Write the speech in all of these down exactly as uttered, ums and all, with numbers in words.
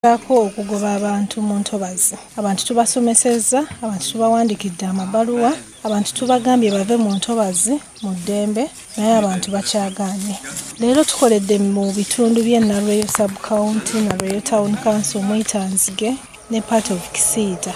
Gezaako okugoba abantu mu ntobazi. Abantu tubasomesezza, abantu tubawandiikidde amabaluwa, abantu tubagambye bave mu ntobazi mu ddembe, naye abantu bakyagaanye. Leero tukoledde mu bitundu by'e Nalweyo sub county, Nalweyo town council, Mwitanzige ne part of Kisiita.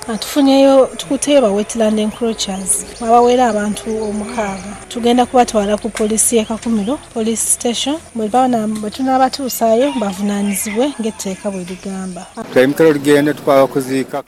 Tufunyeyo, tukutteyo ba wetland encroachers abawera abantu omukaaga. Tugenda kubatwala ku poliisi y'e Kakumiro police station, bwe tunaabatuusaayo bavunaanyizibwe ng'etteeka bwe ligamba. Twayimukira olugendo twaba kuziika.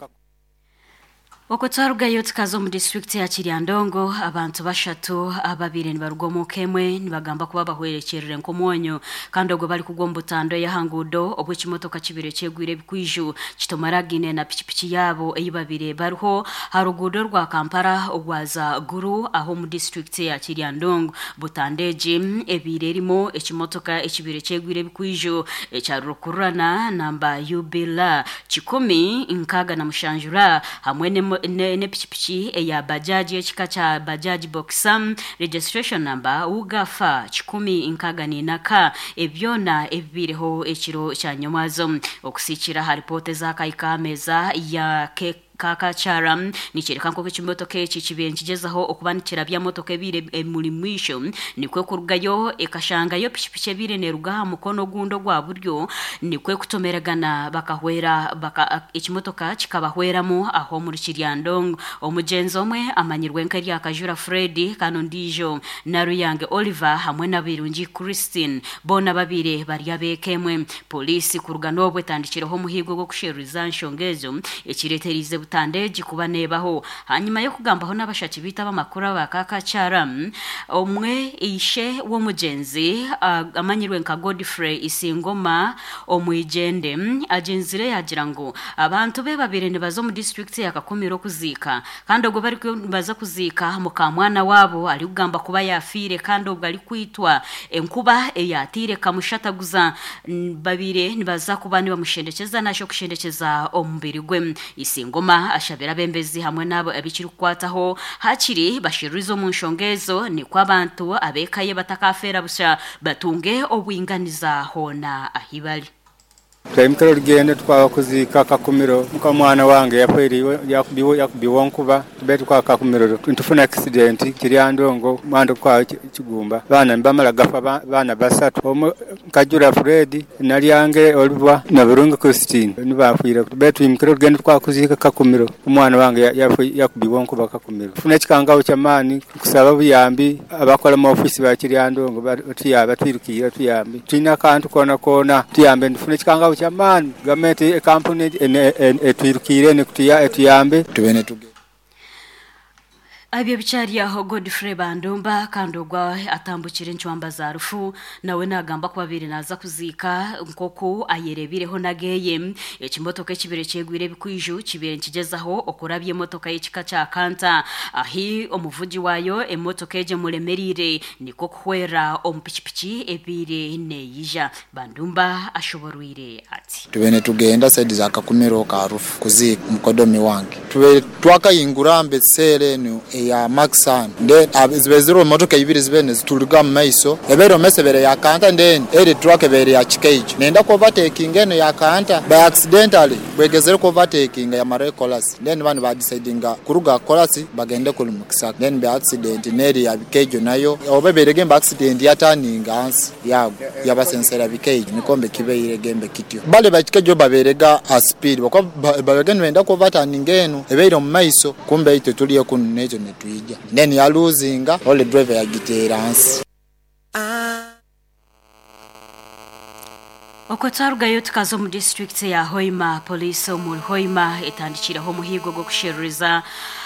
Okwo twarugayo tukaza omu disitulikiti ya Kiryandongo. Abantu bashatu ababire nibaruga omu ka emwe nibagamba kuba bahwerekyerere nk'omwonyo, kandi ogwo bari kugwa omu butando ey'aha nguudo obwo ekimotoka kibire kyegwire ebikwiju kitomaragine na pikipiki yaabo ei babire bariho ha ruguudo rwa Kampala ogwaza Guru aho omu disitulikiti ya Kiryandongo. Butando egi ebiire erimu ekimotoka ekibire kyegwire ebikwiju ekya rukururana namba U B L kikumi nkaaga na mushanju ra hamwe n'emo- ne- n'epikipiki eya bajaji ekika kya Bajaj Boxer, registration number ugafa kikumi nkaaga n'ina ka. Ebyona ebibiireho ekiro kya nyomwazo. Okusiikira aha ripoota ezakahika aha meeza ya ke Kakakyara nikyereka nk'oku ekimotoka eki kibiire nikigyezaho okuba nikirabya motoka ebiire emuri mwisho, nikwe kurugayo ekashangayo pikipiki ebiire neeruga aha mukono ogundi ogwa buryo, nikwe kutomeragana bakahwera baka, ekimotoka kikabahweramu aho omuri Kiryandongo. Omugyenzi omwe amanyirwe nk'eryakajura Fred, kandi ondiijo Naruyange Oliver hamwe na Birungi Christine, boona babiri bari abeeka emwe. Poliisi kuruga n'obwo etandikireho omuhigo gw'okusheruriza nshonga ezo ekireeterize butando egi kuba neebaho. Hanyuma y'okugambaho n'abashaki biita abamakuru aba Kakakyara, omwe ishe w'omugyenzi ah, amanyirwe nka Godfrey Isingoma Omwijende, agyenzire yagira ngu abantu be babiri nibaza omu disitulikiti ya Kakumiro okuziika, kandi ogwo bari nibaza kuziika mukamwana waabo arikugamba kuba yafiire, kandi obwo arikwitwa enkuba eyatiire kamushataguza. N- babire nibaza kuba nibamushendekyeza nasho okushendekyeza omubiri gwe. Isingoma ashabira abembezi hamwe n'abo abikirikukwataho hakiri bashiririze omu nshonga ezo, nikwo abantu ab'eka ye batakafeera busha, batunge obwinganiza hoona ahi bari. Twayimukira olugendo twaba kuziika Kakumiro. Mukamwana wange yafiiriwe, yakubiwe yakubiwe nkuba. Tube tukwa Kakumiro ntufuna accident Kiryandongo mwando kwa Kigumba. Baana nibamala gafa, ba- baana basatu, omwe Kajura Fred, Nalyange Oliver na Birungi Christine nibafiire. Tube twimukira olugendo tukwa kuziika Kakumiro, omwana wange ya- yafi- yakubiwe nkuba Kakumiro. Tufuna ekikangaho kyamaani kusaba buyambi abakola mu ofisi ba Kiryandongo batuyambe, batwirukire tuyambe. Tulina akantu koona koona tuyambe, ntufuna ekikangaho kyamaani. Gavumenti, ekampuni etwirukire etuyambe. Tubene tuge Ebyo bikyari aho, Godfrey Bandumba, kandi ogwa atambukire encwamba za rufu, nawe nagamba ku babiri naza kuziika nkoku ayerebireho nageye ekimotoka ekibire kyegwire ebikwiju kibire nikigezaho okurabya emotoka y'ekika kya Kanta, ahi omuvugi wayo emotoka egyo emuremerire, nikwo kuhwera omu pikipiki ebiire neeyija. Bandumba ashoborwire ati: Tubene tugenda side za Kakumiro ka rufu kuziika mukodomi wange. Tube twakayingura mbe seere eno eya Maxan, then ab- zibe ziriho motoka ibiri zibe zituruga mu maiso. Ebeere omumaiso ebere ya Kanta, then eri truck ebere ya Kikeijo nenda ku overtaking eno ya Kanta. By accidentally bwegezere ku overtaking yamara ekolasi, then bani badecidinga kuruga kolasi bagende kuli mukisaka, then by accident neri ya Bikeijo nayo oba ebeire gembe accident yataninga hansi yago yabasensera Bikeijo. Nikombe kibeire gembe kityo bale bakikejo baberega a speed bakwa babege nibenda ku overturning eno ebeire omu maiso, kumbe itwe tuliyo kuno nekyo netwija, then yaluzinga ole driver yagiteera hansi. Okwo twarugayo tukaza omu disitulikiti ya Hoima. Poliisi omuri Hoima etandikireho omuhigo gw'okusheruriza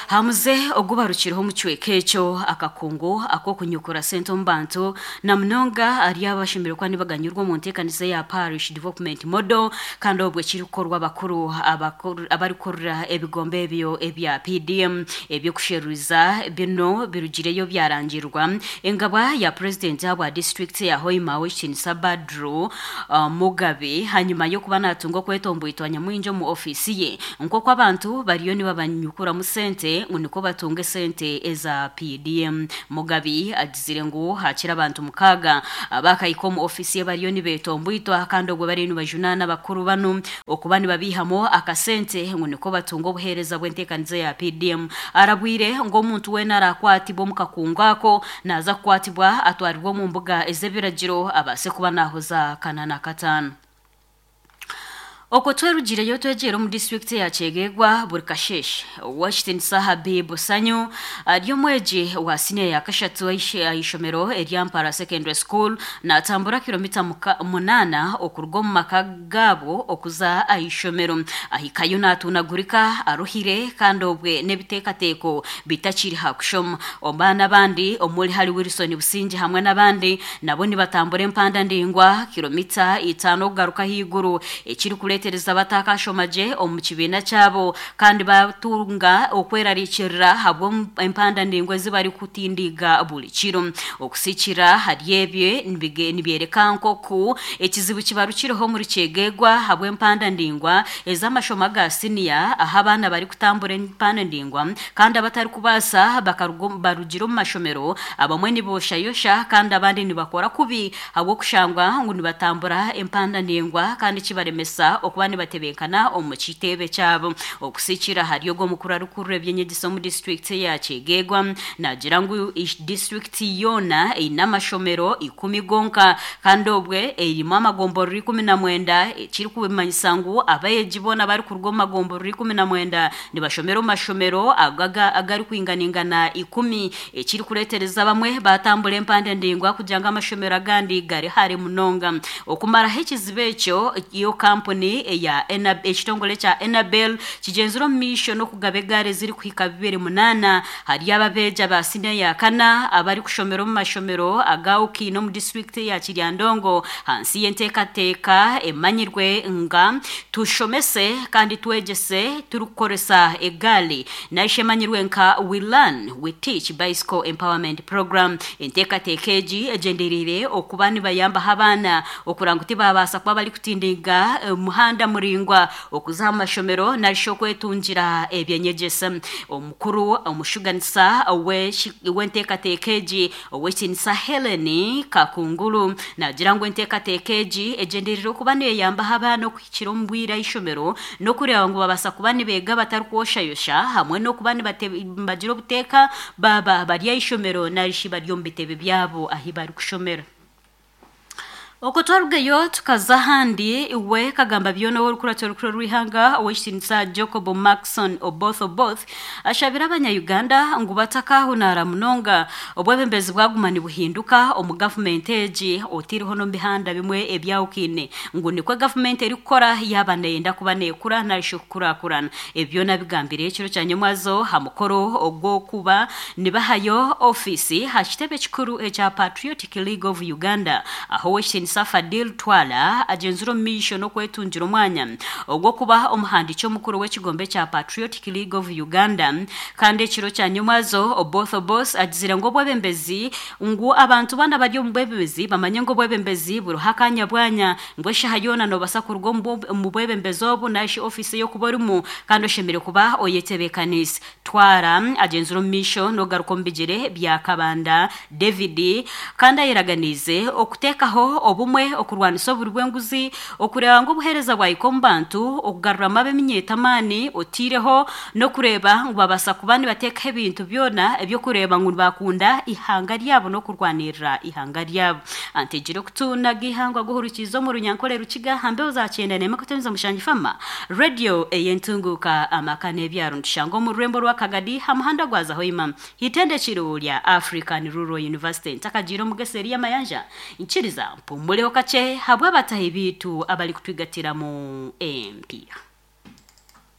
hamuze ogubarukireho omu kicweka ekyo akakungu ak'okunyukura sente omu bantu, na munonga ari abashemereire kuba nibaganyurwa omu nteekanisa ya Parish Development Model, kandi obwo ekirikukorwa abakuru abakuru- abarikurira ebigombe ebyo ebya P D M. Ebyokusheruriza bino birugireyo byarangirwa engabwa ya purezidenti ahabwa disitulikiti ya Hoima, Owekitinisa Badru uh, Mugabe, hanyuma y'okuba natunga okwetomboitwa nyamwingi omu ofiisi ye nk'oku abantu bariyo nibabanyukuramu sente. esente ngu niko batunga esente eza P D M. Mugabi agizire ngu hakira abantu mukaga abakayika omu ofisi ye bariyo nibeetombwitwa kandi obwo bariyo nibajunaana bakuru banu okuba nibabihamo akasente ngu niko batunga obuheereza bw'enteekaniza ya P D M. Arabwire ngu omuntu weena arakwatibwa omu kakungu ako naaza kukwatibwa atwarirwe omu mbuga ez'ebiragiro abaase kuba naahoza kana na kataano. Okwo twerugireyo twegyera omu disitulikiti ya Kyegegwa buri kasheshe Washington Habib Sanyu ari omwegi wa siniya ya kashatu aishomero erya Mpara Secondary School natambura kilomita munaana okuruga omu maka gaabo okuza aishomero. Ahikayo natunagurika aruhire kandi obwe n'ebiteekateeko bitakiri ha kushoma. Ombaana abandi omuri hari Wilson Busingi hamwe n'abandi nabo nibatambura empanda ndingwa kilomita itaano okugaruka ahaiguru ekiri kuletereza batakashomaje omu kibiina kyabo kandi batunga okwerarikirira habwo empanda ndingwa ezibari kutindiga buli kiro. Okusikira hari ebyo nibyereka nkoku ekizibu kibarukireho muri Kyegegwa habwo empanda ndingwa ez'amashomo ga siniya aho abaana bari kutambura empanda ndingwa kandi abatari kubaasa barugira omu mashomero abamwe niboshayosha kandi abandi nibakora kubi habw'okushangwa ngu nibatambura empanda ndingwa kandi kibaremesa okuba nibatebenkana omu kitebe kyabo. Okusikira hari ogwo mukuru arikurura ebyenyegesa omu disitulikiti ya Kyegegwa nagira ngu disitulikiti yoona eine amashomero ikumi gonka kandi obwe erimu amagomborora ikumi na mwenda ekirikubimanyisa ngu abeegi boona barikuruga omu magomborora ikumi na mwenda nibashomera omu mashomero agarikwinganingana ikumi ekirikureetereza bamwe batambura empanda ndingwa kugira ngu amashomero agandi gari hare munonga. Okumaraho ekizibu ekyo iyo kampuni eya ekitongole kya Enabel kigenzire omu maisho n'okugaba egaari ezirikuhika bibiri munaana hari ababeegi ba siniya ya kana abarikushomera omu mashomero aga Ukiine omu disitulikiti ya Kiryandongo hansi y'enteekateeka emanyirwe nga tushomese kandi twegyese turikukoresa egaari naishe emanyirwe nka We Learn We Teach Bicycle Empowerment Program. Enteekateeka egi egyendereire okuba nibayambaho abaana okugira ngu tibabaasa kuba barikutindiga muhanda muringwa okuza mu mashomero narisho okwetungira ebyenyegyesa. Omukuru omushuganisa w'enteekateeka egi Owekitinisa Helen Kakungulu nagira ngu enteekateeka egi egyendereire okuba neyambaho abaana okuhikira omu bwire aishomero n'okureeba ngu babaasa kuba nibeega batarikwoshayosha hamwe n'okuba nibagira obuteeka baba bari aishomero narishi bari omu bitebe byabo ahi barikushomera. Okwo twarugayo tukaza ahandi we kagamba byona orukurato rukuru rw'ihanga Owekitinisa Jacob Maxon Oboth Oboth ashabira abanya-Uganda ngu batakahunara munonga obwebembezi bwaguma nibuhinduka omu gavumenti egi otiriho n'omu bihanda bimwe ebyawukine ngu nikwo gavumenti erikukora yaba neyenda kuba neekura narishi okukurakurana. Ebyo nabigambire ekiro kya nyomwazo ha mukoro ogw'okuba nibahayo ofiisi ha kitebe kikuru ekya Patriotic League of Uganda aho Owekitinisa Fadil Twala agenzire omu maisho n'okwetungira omwanya ogw'okuba omuhandiiki omukuru w'ekigombe kya Patriotic League of Uganda. Kandi ekiro kya nyomwazo Oboth Oboth agizire ngu obwebembezi ngu abantu bana bari omu bwebembezi bamanye ngu obwebembezi buriho akanya bwanya ngu eshaha yoona noobasa kuruga omu bwebembezi obu narishi ofiisi y'okuba orimu kandi oshemereire kuba oyetebeekaniise. Twara agenzire omu maisho n'ogaruka omu bigyere bya Kabanda David kandi ayeraganiize okuteekaho obumwe okurwanisa oburi bw'enguzi okureeba ngu obuheereza bwahika omu bantu okugaruramu ab'eminyeeto amaani otiireho n'okureeba ngu babaasa kuba nibateekaho ebintu byona ebyokureeba ngu nibakunda ihanga ryabo n'okurwanirira ihanga ryabo. Antegire okutunaga ihangwa guhurikiza omu runyankore rukiga hambeho za kyenda n'emwe kutemeza mushangi fama radio ey'entunguka amaka n'ebyaro nitushanga omu rurembo rwa Kagadi ha muhanda gwa Zahoima hitendekiro rya African Rural University ntakagiire omugeseri y'amayanja nkiriza mpumuleho kakye habwa abatahi biitu abari kutwigatira mu empiya.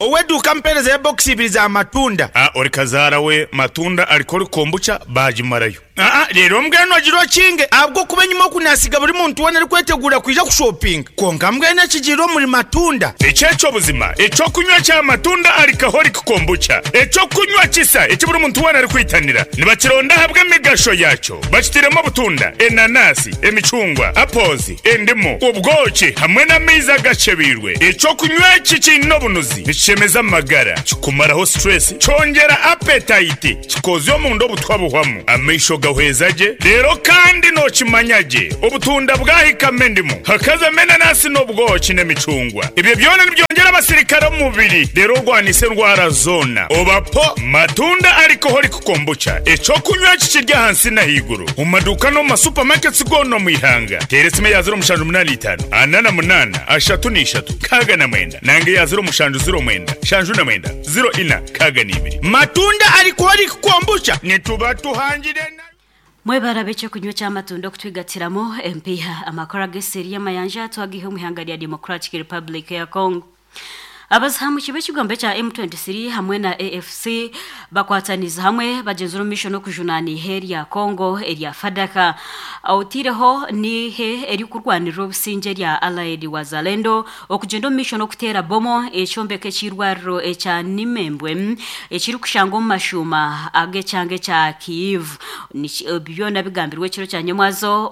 Oweduka mpereza ya box ibiri za matunda. Ah, ori kazaara we matunda ariko ori kombucha bagimarayo. Aa leero mbwenu ogira okinge ahabw'okuba enyima okunasiga buri muntu weena arikwetegura kwija kushopinga konka mbwenu ekigiire omuri matunda. Eky'ekyobuzima ekyokunywa kya matunda alcoholic kombucha ekyokunywa kisa eki buri muntu weena arikwitanira nibakironda ahabw'emigasho yakyo bakitiremu obutunda, enanasi, emicungwa, apples, endimu, obwoki hamwe n'amaizi agacebeirwe. Ekyokunywa eki kiine obunuzi nikishemeza amagara, kikumaraho stress, kyongera appetite, kikozya omunda obutwa buhwamu, amaisho gahweza gye, reero kandi nookimanya gye obutunda bwahikama endimu hakazamo enanasi n'obwoki n'emicungwa. Ebyo byona nibyongera abasirikare omu mubiri reero orwanisa endwara zoona. Obapo matunda alcoholic kombucha ekyokunywa kikiri ahansi n'ahaiguru omu maduuka n'omu masupamaketi goona omu ihanga. Teera esimu eya ziro mushanju munaana itaano ana na munaana ashatu n'ishatu nkaaga na mwenda nange eya ziro mushanju ziro mwenda shanju na mwenda ziro ina nkaaga n'ibiri. Matunda alcoholic kombucha nituba tuhangire na Mwebara ekyokunywa ky'amatunda okutwigatiramo empiha amakuru ag'eseri y'amayanja twagihe omu ihanga rya Democratic Republic ya Congo. Abazahamuki b'ekigombe kya M twenty-three hamwe na A F C bakwataniza hamwe bagenzura omu n'okujunana ihe rya Congo erya Fadaka. Otireho nihe erikurwanirira obusingye rya Allied Wazalendo okugenda omu misho n'okuteera bomo ekyombeko ekirwariro ekya Nimembwe ekirikushangwa omu mashuuma ag'ekyanga ekya Kiev. Byona bigambirwe ekiro kya nyamwazo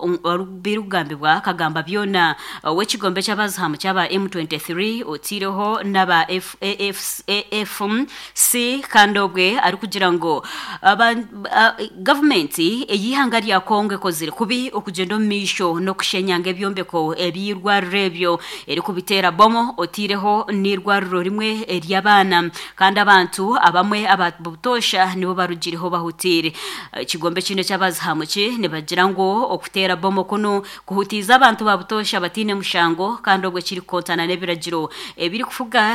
birikugambibwa kagamba byona ow'ekigombe ky'abazahamu kyaba M twenty-three otireho n'aba F A F A F C kandi obwe arikugira ngo gavumenti ey'ihanga rya Congo ekozire kubi okugenda omu maisho n'okushenyanga ebyombeko eby'irwariro ebyo erikubiteera bomo otireho n'irwariro rimwe ery'abaana kandi abantu abamwe ababutosha nibo barugireho bahutire. Ekigombe kino ky'abazahamuki nibagira ngu okuteera bomo kuno kuhutiza abantu babutosha batine mushango kandi obwe kirikontana n'ebiragiro ebirikufuga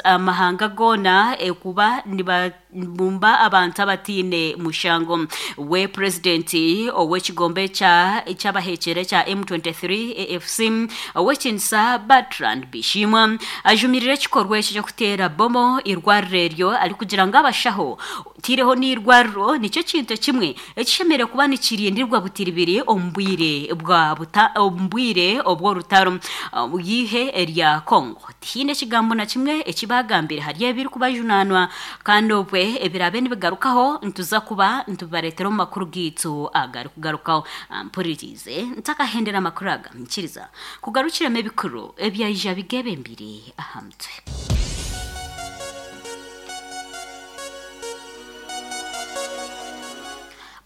amahanga gona ekuba nibabumba abantu abatine mushango. We presidenti ow'ekigombe kya ekyabahekere kya M twenty-three A F C ow'ekinisa Bertrand Bishimwa ajumirire ekikorwa ekyo ky'okuteera bomo irwariro eryo arikugira ngu abashaho tireho n'irwariro nikyo kintu kimwe ekishemereire kuba nikirindirwa butiribiri omu bwire bwa omu bwire obw'orutaro yihe erya Congo. Tihiine ekigambo na kimwe ekibagambire hari ebirikubajunanwa kandi obwe ebirabe nibigarukaho nituza kuba nitubareetera omu makuru gaitu agarikugarukaho. Mpuririze ntakahendera amakuru aga nkiriza kugarukiremu ebikuru ebyaija bigebembire aha mutwe.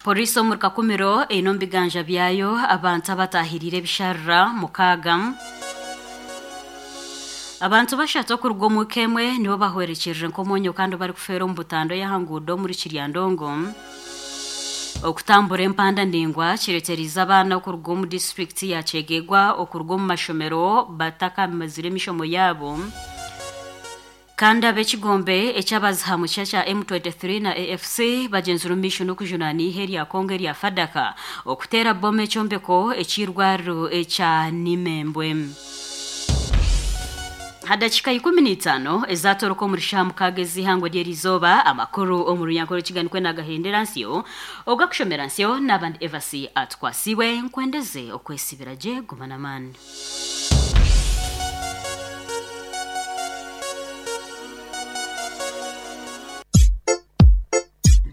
Polisi omuri Kakumiro eine omu biganja byayo abantu abatahirire ebisharira mukaaga. Abantu bashatu okuruga omu kemwe nibo bahwerekyerire nk'omwonyo kandi barikufeera omu butando y'ahanguudo omuri Kiryandongo. Okutambura empanda ndingwa kireeterize abaana okuruga omu disitulikiti ya Kyegegwa okuruga omu mashomero batakamazire emishomo yaabo. Kandi ab'ekigombe ekyabazihamu kya M twenty-three na A F C bagenzura omu maisho n'okujunana ihe rya Congo erya Fadaka okuteera bomo ekyombeko ekirwariro ekya Nimembwe. Hadakika ikumi n'itaano ezatoroka omuri shaaha mukaaga ez'ihangwe ry'erizooba amakuru omu runyankore kiganikwe nagahendera nsyo ogakushomera nsyo n'abandi Evasi atwasiwe nkwendeze okwesibira gye guma n'amaani.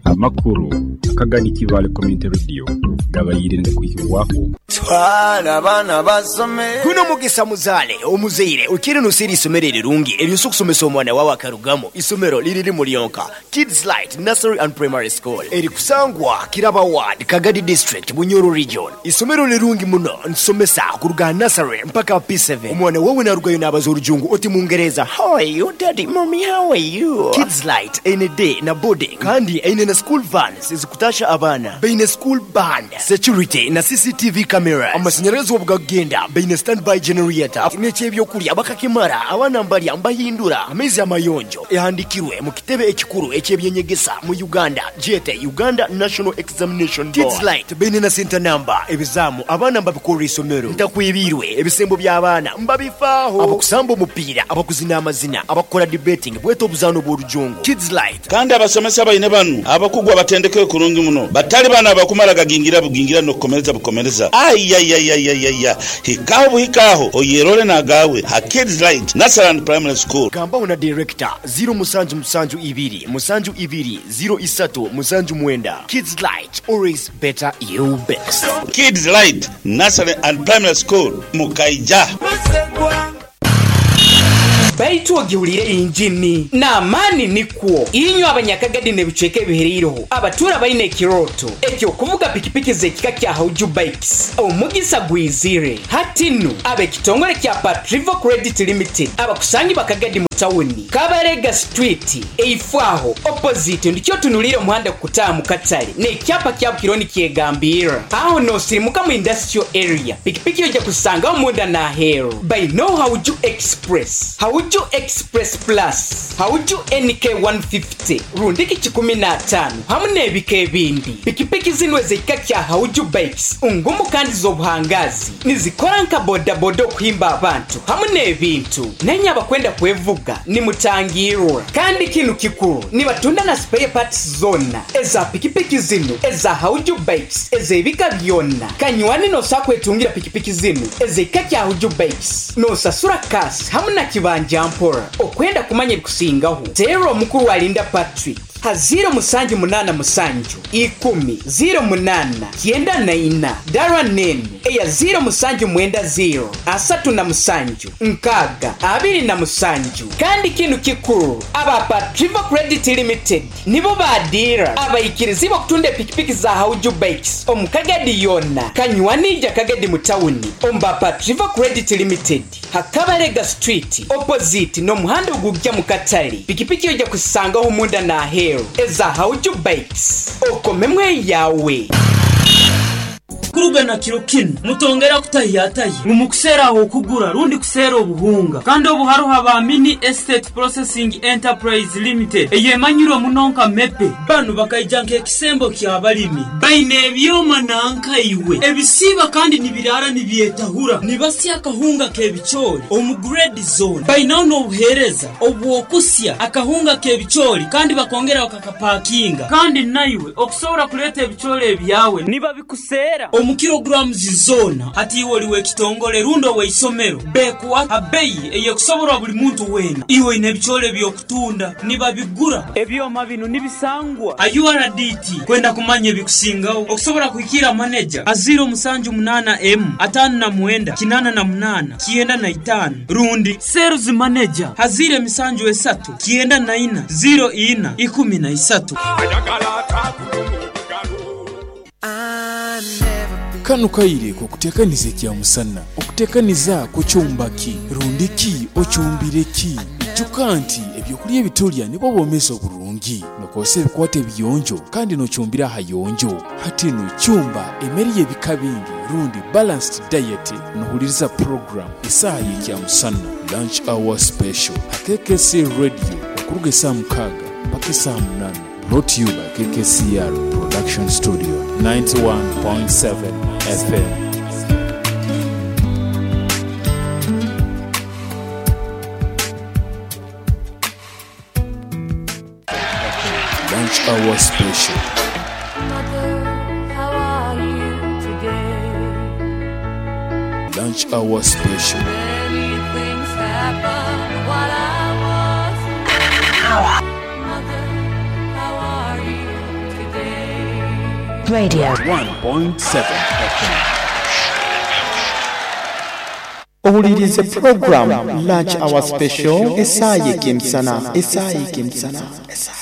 Amakuru akagani Kivale Community Radio gabayirinde kuhibwaho twala abaana basome guno mugisa muzale omuzeire ukiri nusiri isomero erirungi eryosa okusomesa omwana wawe akarugamo isomero liriri mulyonka Kids Light Nursery and Primary School erikusangwa Kiraba Ward Kagadi District Bunyoro Region. Isomero lirungi muno nsomesa kuruga nursery mpaka P seven. Omwana wawe narugayo n'abaza orujungu oti mungereza how are you daddy mommy how are you. Kids Light eine day na boarding kandi eine na school vans ezikutasha abaana beine school band security na C C T V camera. cameras. Amasanyarazi obugagenda baine standby generator. N'ekyebyokulya bakakimara abaana mbalya mbahindura amaizi amayonjo ehandikirwe mu kitebe ekikuru ekyebyenyegesa mu Uganda jete Uganda National Examination Board. Kids Light baine na center number ebizamu abaana mbabikorera isomero ntakwibirwe ebisembo by'abaana mbabifaaho abakusamba omupiira abakuzina amazina abakora debating bweta obuzaano bw'orujungu. Kids Light kandi abasomesa baine banu abakugwa batendeke kurungi muno batali bana abakumara gagingira bugingira nokukomereza bukomereza ayayayayaya hikaho buhikaho oyerole nagawe ha Kids Light Nursery and Primary School. Gambaho na director zero musanju musanju ibiri musanju ibiri zero isatu musanju mwenda. Kids Light, always better you best. Kids Light Nursery and Primary School Mukaija. Baitu ogiwulire injini n'amaani nikwo inywe abanyakagadi n'ebicweka ebihereireho abatura baine ekiroto ekyokuvuga pikipiki z'ekika kya Hauju Bikes omugisa gwizire hatinu ab'ekitongole kya Patrivo Credit Limited abakusangi bakagadi mu tawuni Kabarega Street eifwaho opposite ndikyo tunulire omuhanda kutaamu katale n'ekyapa kya Bukironi kyegambira aho nosirimuka mu industrial area pikipiki ojja kusangaho munda n'aheeru by no Hauju Express Hauju Express Plus Hauju N K one fifty rundiki kikumi na tano hamu n'ebika ebindi pikipiki zino ez'ekika kya Hauju Bikes ngumu kandi z'obuhangazi nizikora nka bodaboda okuhimba abantu hamu n'ebintu nenye abakwenda kwevuga nimutangirwa kandi kinu kikuru nibatunda na spare parts zona eza pikipiki zino eza Hauju Bikes ez'ebika byonna kanywani nosakwetungira pikipiki zino ez'ekika kya Hauju Bikes nosasura kasi hamu na kibanja mpora okwenda kumanya ebikusingaho tero omukuru alinda Patrick ha zero musanju munana musanju ikumi zero munana kienda na ina dara nene eya zero musanju mwenda zero asatu na musanju nkaga abiri na musanju kandi kinu kikuru aba Patrivo Credit Limited nibo badira abayikirizi bakutunda pikipiki za Hauju Bikes omukagadi yona kanywanija kagadi mutawuni omba Patrivo Credit Limited Hakabarega Street opposite no muhanda ogujja mu katale pikipiki ojja kusangaho munda na heru eza Hauju Bikes okomemwe yawe. Kurugana kiro kino mutongera kutahiyataye mumukusera aho kugura rundi kusera obuhunga kandi obuharuha ba Mini Estate Processing Enterprise Limited eyemanyirwe munonka mepe banu bakaija nk'ekisembo ky'abalimi baine ebyoma nanka iwe ebisiba kandi nibirara nibyetahura nibasya akahunga k'ebicoori omu grade zone bainaho n'obuheereza obwokusya akahunga k'ebicoori kandi bakongera bakakapakinga kandi naiwe okusobora kuleeta ebicoori ebyawe nibabikusera omu kilograms zona hati iwe oliwe ekitongole rundo weisomero bekuwa abeyi eyekusoborwa buli muntu wena iwe ine ebicoori byokutunda nibabigura ebyoma bino nibisangwa U R D T kwenda kumanya ebikusingaho okusobora kuhikira manager aziro musanju munana m atano na mwenda kinana na munana kienda na itano rundi sales manager hazire emisanju esatu kienda na ina zero ina ikumi na isatu. Kano kaire kukutekaniza ekya musana okutekaniza kukyumbaki rundiki okyumbireki ijuka nti ebyokulya ebitulya nibwo bwomezi oburungi nokozesa ebikwata ebiyonjo kandi nokyumbira ahayonjo hatino kyumba emmere y'ebika bingi rundi balanced diet nohuliriza program esaaha y'ekya musana lunch hour special ha K K C Radio okuruga esaaha mukaaga mpaka esaaha munana. Brought to you by K K C R Production Studio ninety-one point seven F M. Lunch Hour Special. Mother, how are you today? Lunch Hour Special. Many things happened while I was Mother, how are you today? Radio one point seven F M. Owulirize program Lunch Hour Special esaaha y'ekemisana esaaha y'ekemisana esaaha.